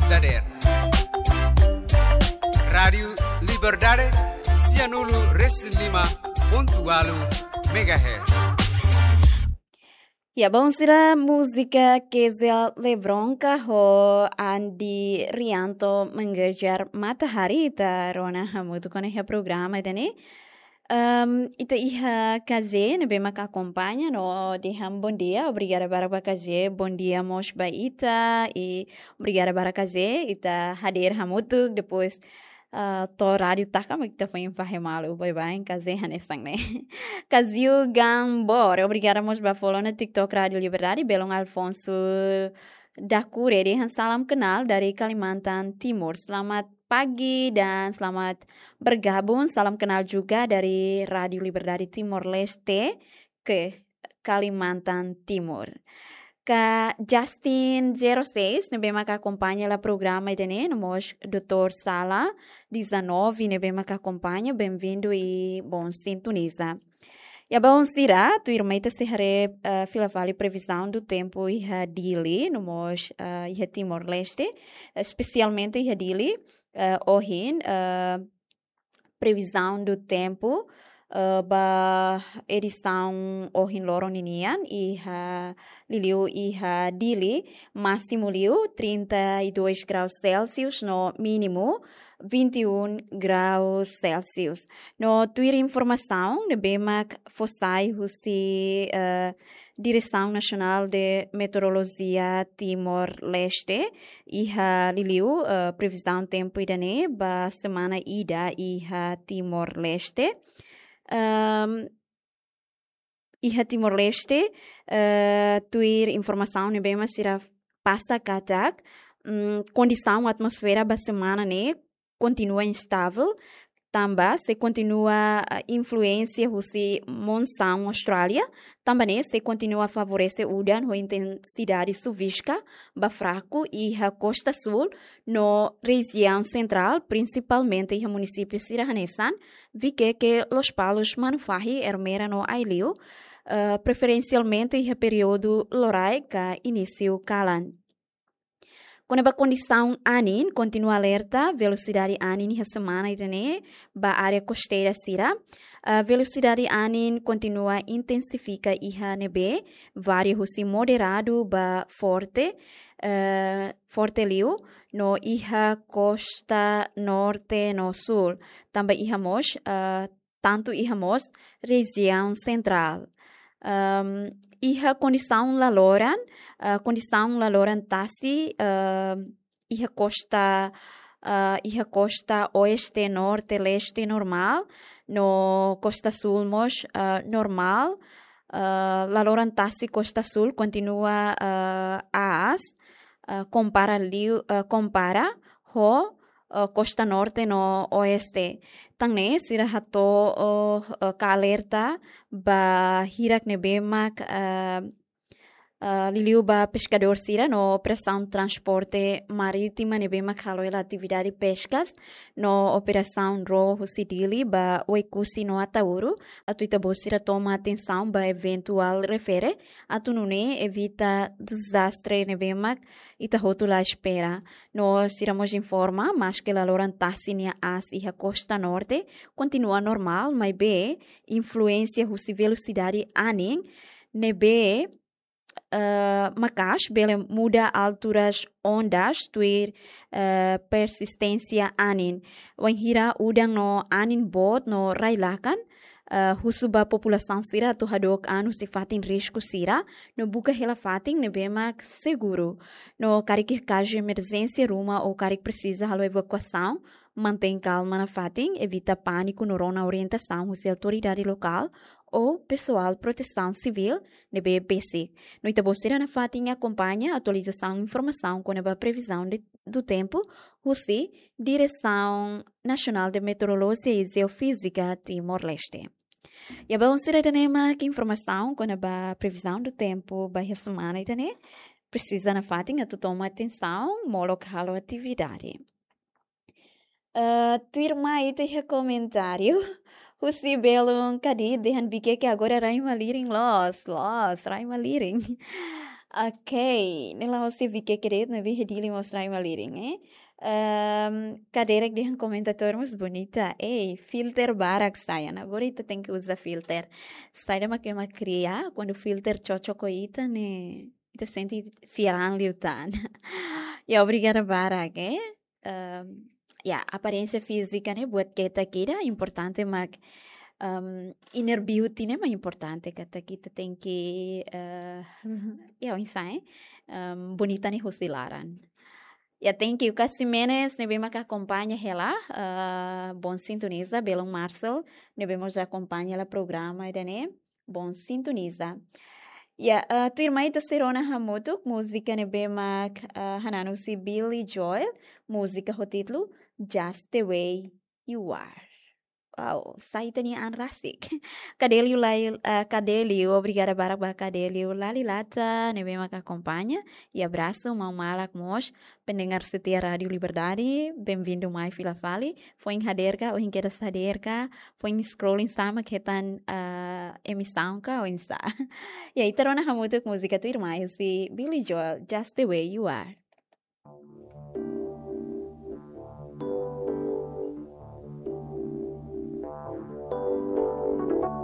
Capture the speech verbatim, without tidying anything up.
dadeer. Rádiu Liberdade, sianulu resin lima pontu walu megahertz. Ya, bom, sira múzika Kezia Lebronka ho Andi Rianto Mengejar Matahari ita rona hamutuk ona iha programa ida-ne'e. Em, ita iha K Z ne'ebé maka akompaña no dehan bondia, obrigada barak ba K Z, bondia mós ba ita, i obrigada barak K Z, ita hadeer hamutuk, depois, ah, to'o rádiu taka, mak ita foin fahe malu, baibain K Z hanesan ne'e. Kaziu Gambor, obrigada mós ba follow ona TikTok Rádiu Liberdade, belun Alfonso Dakure dehan salam kenal dari Kalimantan Timur. Selamat pagi dan selamat bergabung. Salam kenal juga dari Rádiu Liberdade Timor Leste ke Kalimantan Timur. Ka Justin zero seis, ne'ebé maka akompaña hela programa ida-ne'e, no mós doutór Sala dezanove, ne'ebé maka akompaña, bem-vindo e bom sintoniza. Ya, bom, sira, tuirmai ita sei haree, eh, fila fali previsão do tempo iha Dili, no mós, eh, iha Timor-Leste, espesialmente iha Dili, eh, ohin, eh, previsão do tempo, eh, ba edisaun ohin loron ninian, iha liuliu iha Dili, másimu liu trinta e dois graus Celsius, no mínimu vinte e um graus Celsius. No tuir informasaun ne'ebé mak fó sai husi, eh, Diresaun Nasionál de Meteorolojia Timor-Leste, iha liuliu, eh, previzaun tempu ida-ne'e ba semana ida iha Timor-Leste. Em, iha Timor-Leste, eh, tuir informasaun ne'ebé mak sira pasa katak, mm, kondisaun atmosfera ba semana ne'e kontinua instável, tanba sei kontinua, eh, influénsia husi monsaun Austrália, tanba ne'e sei kontinua favorese udan ho intensidade suviska ba fraku iha kosta súl no rejiaun sentrál, prinsipalmente iha munisípiu sira hanesan Viqueque, Lospalos, Manufahi, Ermera no Aileu, eh, preferensialmente iha períodu loraik ka inísiu kalan. Kona-ba kondisaun anin, kontinua alerta velosidade anin iha semana ida-ne'e ba área kosteira sira. Ah, velosidade anin kontinua intensifika iha ne'ebé varia husi moderadu ba forte, eh, forte liu, no iha kosta norte no súl. Tanba iha mós, eh, tantu iha mós rejiaun sentrál. Ehm, iha kondisaun laloran, eh, kondisaun laloran tasi, ehm, iha kosta, eh, iha kosta oeste, norte, leste normál, no kosta súl mós, eh, normál. Eh, laloran tasi kosta súl kontinua, eh, aas, eh, kompara liu, eh, kompara ho, eh, kosta norte no oeste. Tan ne'e sira hato'o, eh, ka alerta ba hirak ne'ebé mak, eh, eh, liuliu ba peskadór sira no operasaun transporte marítima ne'ebé mak halo hela atividade peskas no operasaun ró husi Dili ba Oekusi no Ataúru, atu ita-boot sira toma atensaun ba eventuál refere, atu nune'e evita dezastre ne'ebé mak ita hotu la espera. No sira mós informa, maske laloran tasi nia aas iha kosta norte kontinua normál, maibé influénsia husi velosidade anin ne'ebé, eh, maka'as bele muda alturas ondas tuir, eh, persisténsia anin. Wainhira udan no anin boot no rai-lakan, eh, husu ba populasaun sira atu hadook an husi fatin risku sira, no buka hela fatin ne'ebé mak seguru. No karik iha kazu emerjénsia ruma ou karik presiza halo evakuasaun, mantein kalma nafatin, evita pániku no rona orientasaun husi autoridade lokál ou pesoál protesaun sivíl ne'ebé besik. No ita-boot sira nafatin akompaña atualizasaun informasaun kona-ba previzaun de, do tempu husi Diresaun Nasionál de Meteorolojia i Jeofízika Timor-Leste. Ya, bom, sira, ida-ne'e mak informasaun kona-ba previzaun do tempu ba iha semana ida-ne'e. Presiza nafatin atu toma atensaun molok halo atividade. Eh, tuirmai ita iha komentáriu husi belun Kadi dehan Viqueque agora rai malirin loos, loos, rai malirin. Ok, ne'e la'ós Vicky Queredo, ne'ebé Dili mós rai malirin, eh? Ehm, kaderek dehan komentatór mós bonita. Ei, filter barak sai ona. Agora ita tenke uza filter. Saida mak ema kria, kuandu filter cocok ho ita ne'e, ita sente fiar an liután. Ya, obrigada barak, eh? Ehm, ya, aparénsia fízika ne'e buat ketak ida, importante mak, ehm, inner beauty ne'e mak importante, katak ita tenke, eh, ya, oinsá, eh? Ehm, bonita ne'e husi laran. Ya, thank you Casi Menes, ne'ebé mak akompaña hela, eh, Bon Sintoniza, Belon Marcel, ne'ebé mós akompaña hela programa ida-ne'e, Bon Sintoniza. Ya, eh, tuirmai ita sei rona hamutuk múzika ne'ebé mak, eh, hanan husi Billy Joel, múzika ho títulu Just the Way You Are. Wow, sai ita-nia an rasik. Kadelio lai, eh, Kadelio, obrigada barak ba Kadelio Lalilata, ne'ebé mak akompaña. Ya, abrasu, maun-malak mós, pendengar setia Rádio Liberdade, bem-vindo mai fila fali. Foin hadeer ka, ohin kedas hadeer ka, foin scrolling sama ketan, eh, emisaun ka, oinsá. Ya, ita rona hamutuk múzika tuirmai husi Billy Joel, Just the Way You Are.